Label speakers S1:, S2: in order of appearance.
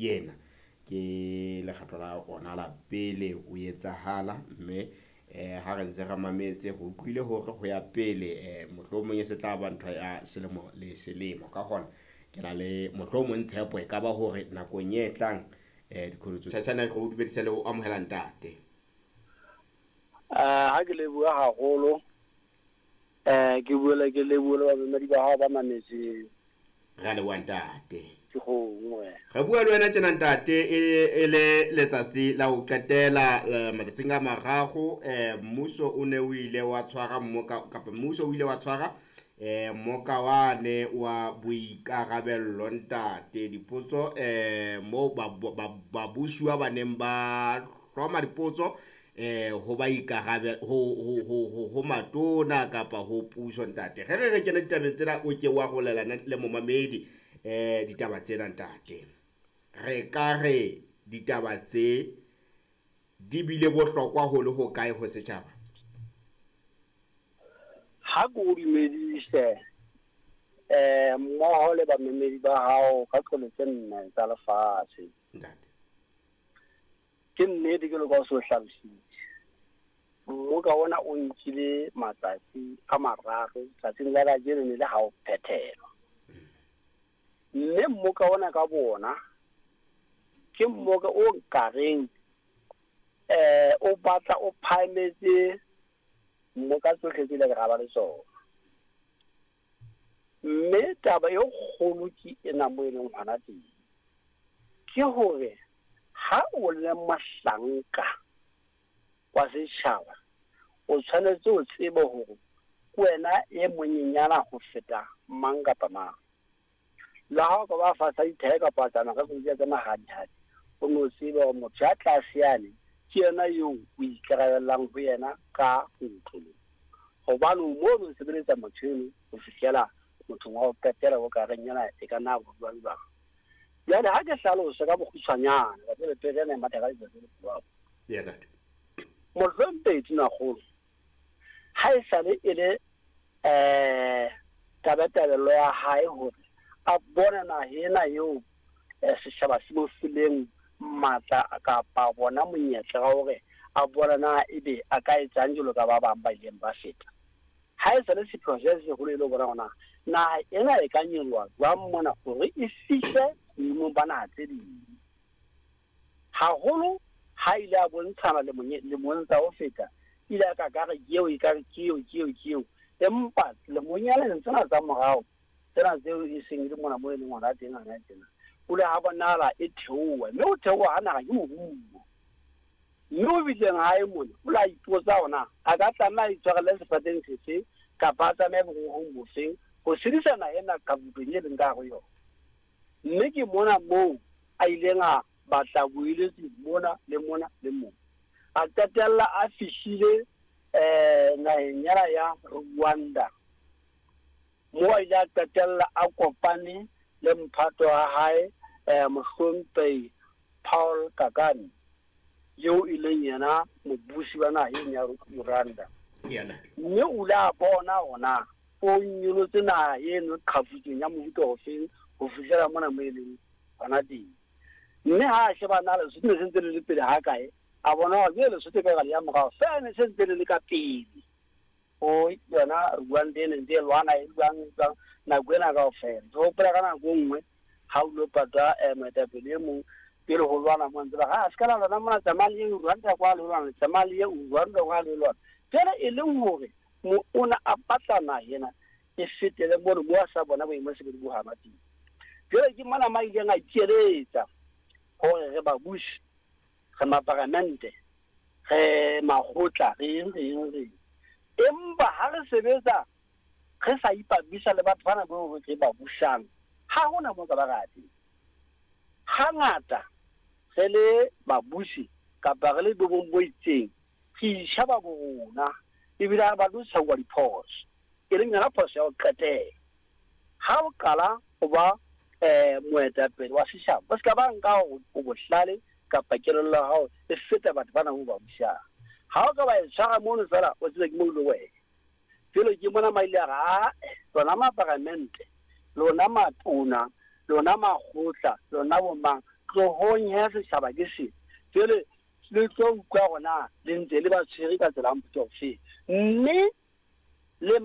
S1: Yena ke lekgetlo la ona la pele o etsahala, mme ha re ntse re mametse, re utlwile hore ho ya pele mohlomong e se tla ba ntho ya selemo le selemo. Ka hona ke na le mohlomong tshepo e ka ba hore nakong e tlang diqholotso. Tjhatjhana, re o dumedisa le ho amohela ntate.
S2: Ha ke leboha haholo, ke buela ke leboha le bamamedi ba hao ba mametseng.
S1: Re a leboha ntate.
S2: Ke gongwe.
S1: Re bua le wena tjena ntate e le letsatsi la ho qetela, matsatsing a mararo mmuso o ne o ile wa tshwara mmoka, kapa mmuso o ile wa tshwara mmoka wane wa boikarabello ntate. Dipotso moo babusuwa ba neng ba hloma dipotso ho ba ikarabe ho matona kapa ho puso ntate. Re re kene ditabeng tsena, o ke wa rolelana le momamedi ditaba tsena ntate. Re ka re ditaba tse di bile bohlokwa ho le ho kae ho setjhaba?
S2: Ha ke o dumedise mmoho le bamamedi ba hao ka qolo tse nne tsa lefatshe.
S1: Ntate.
S2: Ke nnete ke loka o se o hlalositse. Mmoka ona o nkile matsatsi a mararo, tsatsing la kajeno ne le ha o phethelwa. Mme mmoka ona ka bona ke mmoka o nkareng o batla o phahametse mmoka tsohle tse ile ra ba le tsona. Mme taba e kgolo ke ena mo e leng hona teng, ke hore ha o le mohlanka wa setjhaba, o tshwanetse o tsebe hore ke wena e monyenyana ho feta mang kapa mang. Le ha o ka ba fatshe dithae kapa tsamaya ka koloi tsa mahadihadi, o no tsebe hore motho ya tlase yane ke yena eo o ikarabellang ho yena ka ntlong. Hobane o mono o sebeletsa motho eno ho fihlela mothong wa ho qetela o ka reng yena e ka nna bua jwang. Jwale ha ke hlalose ka bokgutshwanyane, ka tsebe pele ena e matha ka letsatsi le jwalo. Mohlomphehi Tonakgolo, ha e sale e le tabatabelo ya hae hore a bone naha ena eo setjhaba se mo fileng matla kapa bona monyetla wa hore a bone na ebe a ka etsang jwalo ka ba bang ba ileng ba feta. Ha e sale sepheo se seholo e le ho bona hore na naha ena e ka nyoloha jwang mona hore e fihle boemong ba naha tse ding. Haholo ha ile a bontshana lemong tsa ho feta, ile a ka ka re ke eo, e ka re ke eo, ke eo, ke eo. Empa lemong tsena tsa morao, tsena tseo e seng e le mona moo e leng hona teng hana tjena, o ile ha bonahala e theoha, mme ho theoha ha naha ke moruo. Mme o bileng hae mona, o la ipotsa hore na a ka tlameha a itshwarelle sefateng sefe kapa a tsamaye borohong bofeng ho sedisa naha ena qaputong e leng ka hare ho yona. Mme ke mona moo a ileng a batla boeletsi mona le mona le mona. A qetella a fihlile naheng yela ya Rwanda, moo a ile a qetella a kopane le mphato wa hae Mohlomphehi Paul Kagame, eo e leng yena mobusi wa naha eno ya Rwanda. Mme o ile a bona hore na o nyolotse naha eno qhafutsong ya mofuta ofeng ho fihlela mona mo e leng hona teng. Mme ha a sheba na Lesotho ne se ntse le le pele ha kae, a bona hore jwale Lesotho e ka le ya morao, feela ne se ntse le le ka pele ho yona Rwanda e ne ntse e lwana e jwang jwang nako ena kaofela. Ke hopola ka nako e nngwe ha o lo patwa moetapele e mong pele ho lwana mo ntse ba re, a se ka la lwana mona, tsamaya le ye Rwanda kwa le lwana, tsamaya le ye Rwanda kwa le lwana. Jwale e leng hore o na a batla naha ena e fetele mono mo a sa bona boemo se bo hama teng. Jwale ke mona ma ileng a ikeletsa hore re babusi, re maparamente, re makgotla, re eng, re eng, re eng. Empa ha re sebetsa re sa ipapisa le batho bana bao re ba busang, ha hona moo ka ba ra teng. Hangata re le babusi kapa re le boemong bo itseng, re itjheba borona ebile ha re batle ho tshwauwa diphoso, e leng yona phoso ya ho qetela. Ha o qala ho ba moetapele wa setjhaba, o se ka ba nka hore o bohlale kapa kelello ya hao e feta batho bana bo ba busang. Ha o ka ba e tshwara mono feela, o tsebe ke mo ile wena. Jwale ke mona ma ile a re, ae, lona maparamente, lona matona, lona makgotla, lona bomang, Tlohong he setjhaba ke se. Jwale le tlo utlwa hore na le ntse le ba tshwere ka tsela ya mofuta ofeng. Mme le